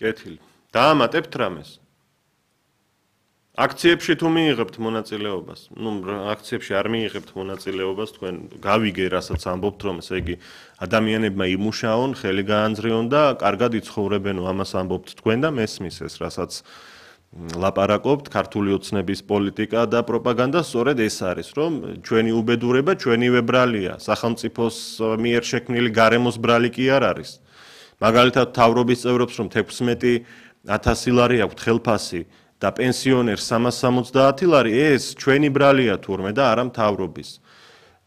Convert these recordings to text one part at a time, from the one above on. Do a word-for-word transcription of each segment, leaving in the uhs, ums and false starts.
კეთილი. დაამატებთ რამეს? აქციებში თუ მიიღებთ მონაწილეობას, ну, აქციებში არ მიიღებთ მონაწილეობას, თქვენ გავიგე, რასაც ამბობთ, რომ ესე იგი ადამიანებმა იმუშაონ, ხელი გაანძრიონ და კარგად იცხოვრებენო, ამას ამბობთ თქვენ და მესმის ეს, რასაც ლაპარაკობთ, ქართული ოცნების პოლიტიკა და პროპაგანდა სწორედ ეს არის, რომ ჩვენი უბედურება, ჩვენივე ბრალია, სახელმწიფოს მიერ შექმნილი გარემოს ბრალი კი არ არის. მაგალითად, თავრობის წევრებს რომ თექვსმეტი ათასი ლარი აქვთ ხელფასი და პენსიონერს სამას სამოცდაათი ლარი, ეს ჩვენი ბრალია თურმე და არა მთავრობის.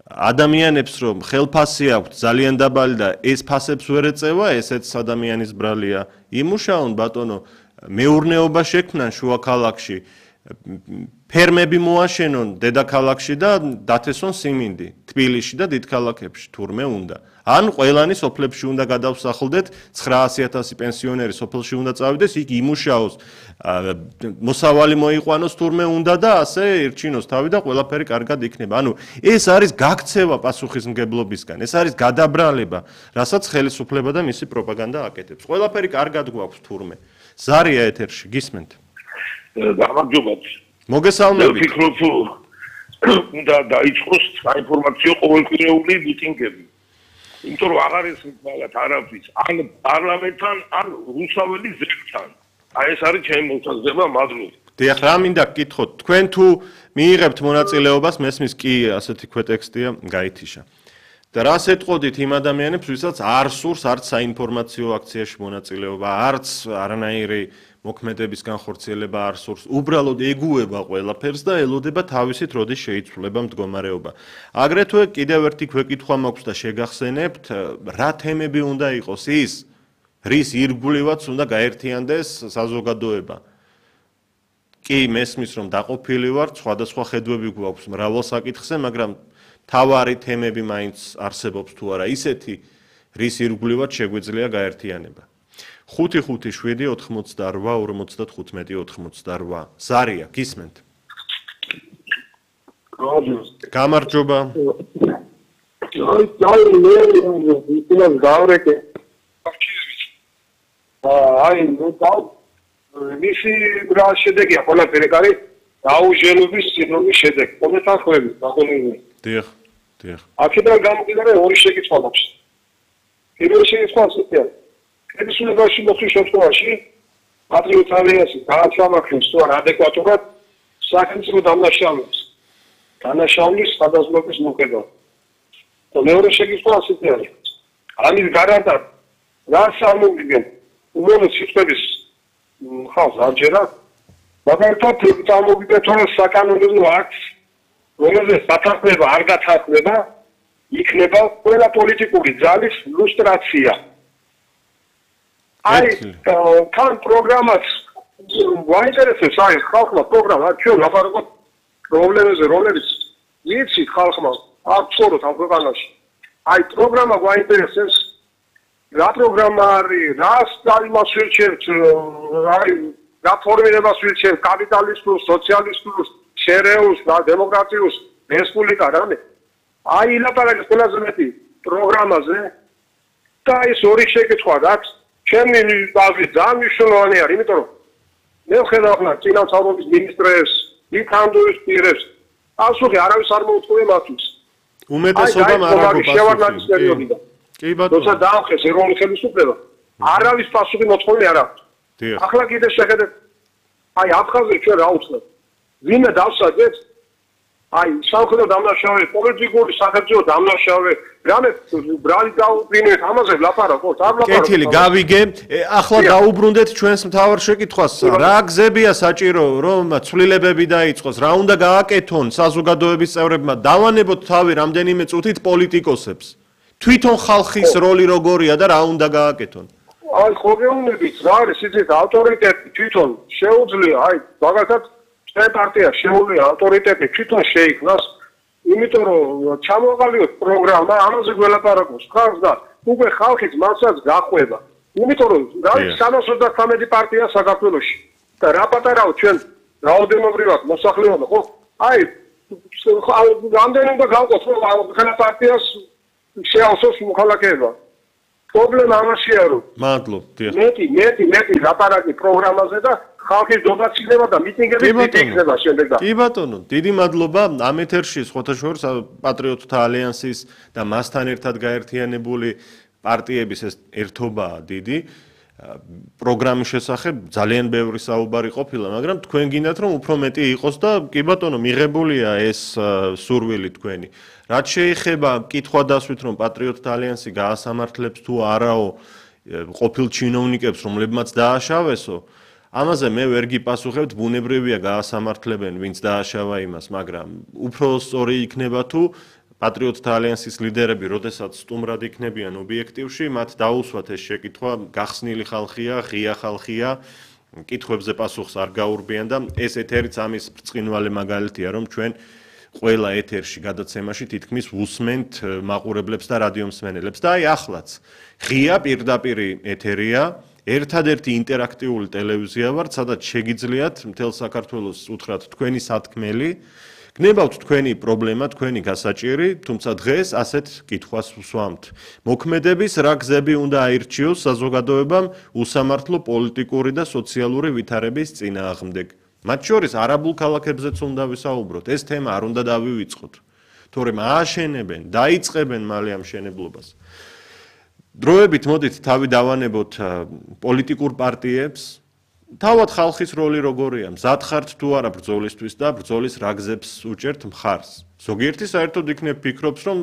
ადამიანებს რომ ხელფასი აქვთ ძალიან დაბალი და ეს ფასებს ვერ ეწევა, ესეც ადამიანის ბრალია. იმუშაონ ბატონო, მეურნეობა შექმნან შუა ქალაქში, ფერმები მოაშენონ დედაქალაქში და დათესონ სიმინდი, თბილისში და დიდ ქალაქებში თურმე უნდა. ან ყველანი სოფლებში უნდა გადავსახლდეთ, ცხრაასი ათასი პენსიონერი სოფელში უნდა წავიდეს, იქ იმუშაოს, მოსავალი მოიყვანოს თურმე უნდა და ასე ირჩინოს თავი და ყველაფერი კარგად იქნება. ანუ ეს არის გაქცევა პასუხისმგებლობისგან, ეს არის გადაბრალება, რასაც ხელისუფლება და მისი პროპაგანდა აკეთებს. ყველაფერი კარგად გვაქვს თურმე. ზარია ეთერში, გისმენთ? გამარჯობათ. მოგესალმებით. ვფიქრობ, უნდა დაიწყოს საინფორმაციო ყოველკვირეული მიტინგები. იმიტომ რომ აღარ ეს მაგათ არაფრის, ან პარლამენტთან, ან რუსაველი ზეგთან. აი ეს არის ჩემი მოსაზრება, მადლობა. დიახ, რა მინდა გკითხოთ, თქვენ თუ მიიღებთ მონაწილეობას, მესმის კი ასეთი ქვეტექსტია, გაითიშა. და რას ეტყოდით იმ ადამიანებს, ვისაც არ სურს არც საინფორმაციო აქციაში მონაწილეობა, არც არანაირი მოქმედების განხორციელება არ სურს, უბრალოდ ეგუება ყველაფერს და ელოდება თავისით როდის შეიცვლება მდგომარეობა. აგრეთვე კიდევ ერთი გვეკითხვა მაქვს და შეგახსენებთ, რა თემები უნდა იყოს ის, რის ირგვლივაც უნდა გაერთიანდეს საზოგადოება. კი, მესმის რომ დაყოფილი ვართ, სხვადასხვა ხედვები გვაქვს მრავალ საკითხზე, მაგრამ თავარი თემები მაინც არსებობს თუ არა ისეთი, რის ირგვლივაც შეგვიძლია გაერთიანება. ხუთი ხუთი შვიდი ოთხმოცდაორვა ორმოცდათხუთმეტი ოთხმოცდაორვა. ზარია, გისმენთ? გამარჯობა. აი, აი, მე ისინი გავრეკე. აი, ნუ დაუ მისი რა შედეგია ყველაფერი არის დაუჟენობის სინდრომის შედეგი. კომენტარები, ბაგონები. დიახ, დიახ. აქედან გამომდინარე ორი შეკითხვა მაქვს. პირველი შეკითხვა ასეთია. ედისუნებაში მოხდის შემთხვევაში პატრიოტ ალიანსი გააცამახებს თუ არა ადეკვატურად სახელმწიფო დამნაშავეებს. დანაშაულის სხვადასხვაობის მოქმედებას. და მეორე შეკითხვა ასეთი არის. ამის გარანტად რა სამოგიგენ უმოვლო სიტყვების ხალხს არჯერა, მაგალითად წარმოგიდგენთ რომ საკანონმდებლო აქტს, რომელზეც სათანხმება არ გათანხმება, იქნება ყველა პოლიტიკური ძალის ლუსტრაცია. აი, თან პროგრამაც გვაინტერესებს, აი, ხალხმა პროგრამა, ჩვენ ლაპარაკობთ პრობლემებზე, რომლებიც ვიცით ხალხმა აქ ცხოვრობთ ამ ქვეყანაში. აი, პროგრამა გვაინტერესებს, რა პროგრამა არის, რას იმას ვირჩევთ, აი, რა ფორმირებას ვირჩევთ, კაპიტალისტურ, სოციალისტურ, შერეულს და დემოკრატიულს, რესპუბლიკა რამე. აი, ლაპარაკის ყველაზე მეტი პროგრამაზე და ეს ორი შეკითხვა აქვს. ჩემი აზრით ძალიან მნიშვნელოვანი არის, იმიტომ რომ მე ვხედავ ახლა წინასწარმობის მინისტრებს, იქამდუის პირებს, პასუხი არავის არ მოუწყვია მათთვის. უმეტესობამ არ აქვს პასუხი. კი ბატონო. თორსა დაახეს ეროვნული ხელისუფლება, არავის პასუხი მოწყვეტილი არ აქვს. ახლა კიდე შეხედეთ, აი აფხაზეთში ჩვენ რა უცხოთ. ვინმე დავსაჯეთ, აი სამხედრო დამნაშავე, პოლიტიკური სახელმწიფო დამნაშავე, რამე ბრალი დაუბრინეთ, ამაზე ვლაპარაკობთ, არ ვლაპარაკობთ. კეთილი, გავიგე. ახლა დაუბრუნდეთ ჩვენს მთავარ შეკითხვას. რა გზებია საჭირო, რომ ცვლილებები დაიწყოს, რა უნდა გააკეთონ საზოგადოების წევრებმა, დავანებოთ თავი რამდენიმე წუთით პოლიტიკოსებს. თვითონ ხალხის როლი როგორია და რა უნდა გააკეთონ? აი, ხოგეუნებით რა არის ისეთ ავტორიტეტი თვითონ შეუძლია, აი, მაგალითად ჩვენ პარტია შეუძლია ავტორიტეტი თვითონ შეიქმნას, იმიტომ რომ ჩამოაყალიბოთ პროგრამა, ამაზე გველაპარაკობს ხალხს და უკვე ხალხიც მასაც გახვება. იმიტომ რომ რა სამას ოცდათვრამეტი პარტია საქართველოში და რა პატარაო ჩვენ რაოდენობრივად მოსახლეობა, ხო? აი, რამდენი უნდა გავყოთ, რომ ყველა პარტიას შეავსოს მოქალაქეება. პრობლემა ამაშია რომ მადლობ, დიახ. მეტი, მეტი, მეტი ლაპარაკი პროგრამაზე და ხალხის დონაციება და მიტინგები იქნება შემდეგ და. კი ბატონო, დიდი მადლობა ამ ეთერში ხოთაშორის პატრიოტთა ალიანსის და მასთან ერთად გაერთიანებული პარტიების ეს ერთობაა დიდი. პროგრამის შესახებ ძალიან ბევრი საუბარი ყოფილა, მაგრამ თქვენ გინდათ რომ უფრო მეტი იყოს და კი ბატონო, მიღებულია ეს სურვილი თქვენი. რაც შეეხება კითხვა დასვით რომ პატრიოტთა ალიანსი გაასამართლებს თუ არაო ყოფილ ჩინოვნიკებს, რომლებმაც დააშავესო, ამაზე მე ვერ გიპასუხებთ, ბუნებრივია გაასამართლებენ, ვინც დააშავა იმას, მაგრამ უფრო სწორი იქნება თუ პატრიოტთა ალიანსის ლიდერები, როდესაც სტუმრად იქნებიან ობიექტივში, მათ დაუსვათ ეს შეკითხვა, გახსნილი ხალხია, ღია ხალხია, კითხვებზე პასუხს არ გაურბიან და ეს ეთერიც ამის ბრწყინვალე მაგალითია, რომ ჩვენ ყველა ეთერში გადაცემაში თითქმის უსმენთ მაყურებლებს და რადიომსმენელებს და აი ახლაც ღია პირდაპირი ეთერია, ერთადერთი ინტერაქტიული ტელევიზია ვართ, სადაც შეგიძლიათ მთელ საქართველოს უთხრათ თქვენი სათქმელი, გნებავთ თქვენი პრობლემა, თქვენი გასაჭირი, თუმცა დღეს ასეთ კითხვას ვსვამთ. მოქმედების რა გზები უნდა აირჩიოს საზოგადოებამ უსამართლო პოლიტიკური და სოციალური ვითარების წინააღმდეგ. მათ შორის არაბულ ქალაქებზეც უნდა ვისაუბროთ. ეს თემა არ უნდა დავივიწყოთ. თორემ ააშენებენ, დაიწყებენ მალე ამ შენებლობას. დროებით მოდით თავი დავანებოთ პოლიტიკურ პარტიებს. თავად ხალხის როლი როგორია? მზად ხართ თუ არა ბრძოლისთვის და ბრძოლის რა გზებს უჭერთ მხარს? ზოგიერთი საერთოდ იქნებ ფიქრობს, რომ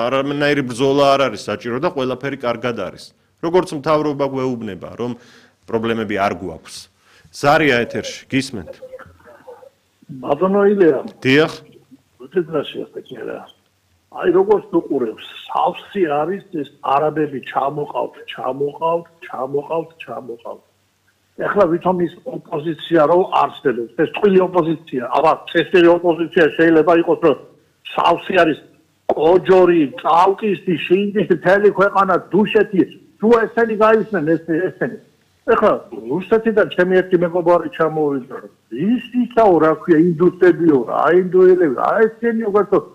არანაირი ბრძოლა არ არის საჭირო და ყველაფერი კარგად არის. როგორც მთავრობა გვეუბნება, რომ პრობლემები არ გვაქვს. ზარია ეთერში, გისმენთ? ბატონო ილია. დიახ. უთეთრაში ახლა. აი როგორც უყურებს, სავსე არის ეს არაბები ჩამოყავთ, ჩამოყავთ, ჩამოყავთ, ჩამოყავთ. ეხლა ვითომ ის ოპოზიცია რო არსებობს, ეს წყვილი ოპოზიცია, აბა წესიერი ოპოზიცია შეიძლება იყოს, რომ სავსე არის კოჯორი, წალკისი, შინდისი, თელი ქვეყანა, დუშეთი, თუ ესენი გაისმენ ეს ესენი. ეხლა რუსეთიდან ჩემი ერთი მეგობარი ჩამოვიდა. ის ისაო რა ქვია, ინდუსტრიებიო, რა ინდუელები, რა ესენი უბრალოდ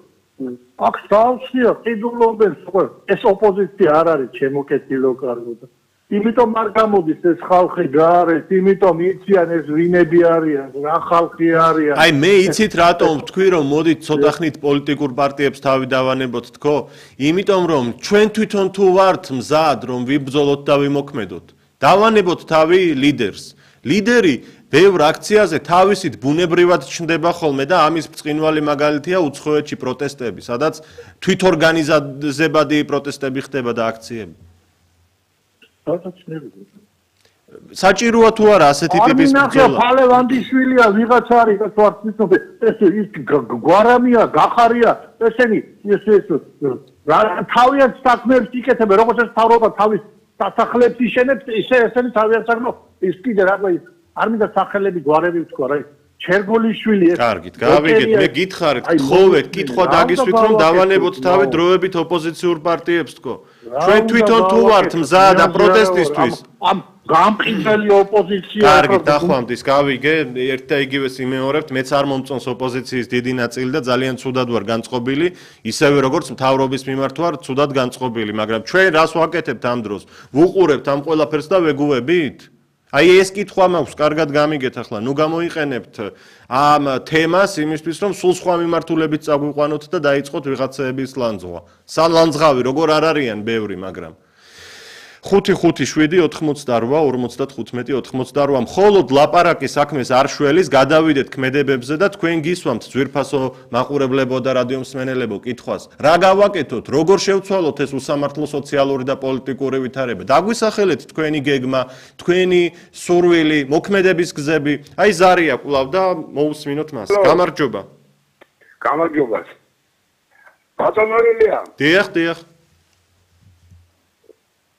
აქ სავსეა, ყიდულობენ, სხვა ეს ოპოზიცია არ არის ჩემოკეთილო კარგო და იმიტომ არ გამოდის ეს ხალხი გარეთ, იმიტომ იციან ეს ვინები არიან, რა ხალხი არიან. აი მე იცით რატომ ვთქვი რომ მოდით ცოტა ხნით პოლიტიკურ პარტიებს თავი დავანებოთ თქო? იმიტომ რომ ჩვენ თვითონ თუ ვართ მზად რომ ვიბრძოლოთ და ვიმოქმედოთ. დავანებოთ თავი ლიდერს. ლიდერი ბევრ აქციაზე თავისით ბუნებრივად ჩნდება ხოლმე და ამის ბრწყინვალე მაგალითია უცხოეთში პროტესტები, სადაც თვითორგანიზებადი პროტესტები ხდება და აქციები. საჭიროა თუ არა ასეთი ტიპის ბრძოლა? ფალევანდიშვილია ვიღაცა არის და თუ არ თვითონ ეს ის გვარამია, გახარია, ესენი ეს ეს თავიანთ საქმეებს იკეთებენ, როგორც ეს თავრობა თავის სასახლეებს იშენებს, ისე ესენი თავიანთ საქმეებს ის კიდე რა ქვია, არ მინდა სახელები გვარები ვთქვა რა. ჩერგოლიშვილი ეს. კარგით, გავიგეთ, მე გითხარით, გთხოვეთ, კითხვა დაგისვით რომ დავანებოთ თავი დროებით ოპოზიციურ პარტიებს თქო. ჩვენ თვითონ თუ ვართ მზად და პროტესტისთვის. ამ გამყიდველი ოპოზიცია. კარგით, დახვამთ ის გავიგე, ერთ და იგივეს იმეორებთ, მეც არ მომწონს ოპოზიციის დიდი ნაწილი და ძალიან ცუდად ვარ განწყობილი, ისევე როგორც მთავრობის მიმართ ვარ ცუდად განწყობილი, მაგრამ ჩვენ რას ვაკეთებთ ამ დროს? ვუყურებთ ამ ყველაფერს და ვეგუებით? აი ეს კითხვა მაქვს, კარგად გამიგეთ ახლა, ნუ გამოიყენებთ ამ თემას იმისთვის, რომ სულ სხვა მიმართულებით წაგვიყვანოთ და დაიწყოთ ვიღაცების ლანძღვა. სალანძღავი როგორ არ არიან ბევრი, მაგრამ ხუთი ხუთი შვიდი ოთხმოცდარვა ორმოცდათხუთმეტი ოთხმოცდარვა მხოლოდ ლაპარაკი საქმეს არ შველის, გადავიდეთ ქმედებებზე და თქვენ გისვამთ ძვირფასო მაყურებლებო და რადიომსმენელებო კითხვას. რა გავაკეთოთ, როგორ შევცვალოთ ეს უსამართლო სოციალური და პოლიტიკური ვითარება? დაგვისახელეთ თქვენი გეგმა, თქვენი სურვილი, მოქმედების გზები. აი ზარია კვლავ და მოусმინოთ მას. გამარჯობა. გამარჯობა. ბატონო ილია. დიახ, დიახ.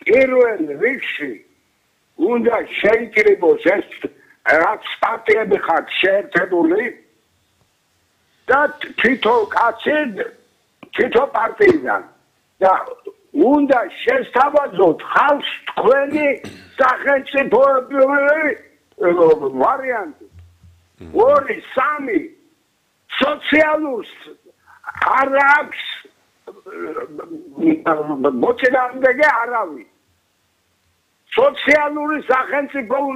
პირველ რიგში უნდა შეიკრიბოს ეს რაც პარტიები ხართ შეერთებული და თვითონ კაცი თვითონ პარტიიდან და უნდა შესთავაზოთ ხალხს თქვენი სახელმწიფო ვარიანტი. ორი, სამი სოციალურს არ აქვს მოწინააღმდეგე არავის. სოციალური სახელმწიფო უნდა